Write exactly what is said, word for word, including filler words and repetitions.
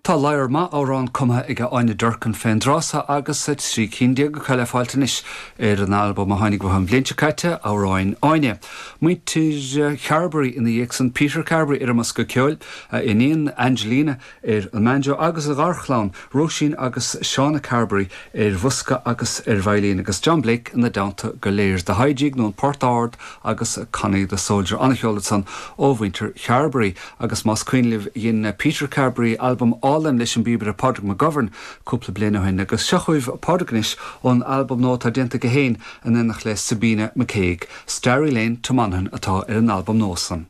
Tá lear maith amhrán cumtha ag Áine Durkin fén dtráth so agus trí cinn déag acu le fáilt anois ar an albam a tháinig an bhliain seo caite Amhráin Áine. Muintir Carberry ina dhiaidh san Peter Carberry ar an mbosca ceoil a iníon Angelina ar an mbanjo agus a gharchlann Róisín agus Shauna Carberry ar bhosca agus ar veidhlín agus John Blake ina dteannta go léir The High Jig nó an Port Ard agus Connie the Soldier an-cheol san ó mhuintir Carberry agus más cuimhin libh dhein Peter Carberry albam álainn leis an bpíobaire Padraig McGovern cúpla bliain ó shin agus seo chugaibh Padraig anois ón albam nua atá déanta aige féin in éineacht le Sabina McCaig. Starry Lane to Monaghan atá ar an albam nua san.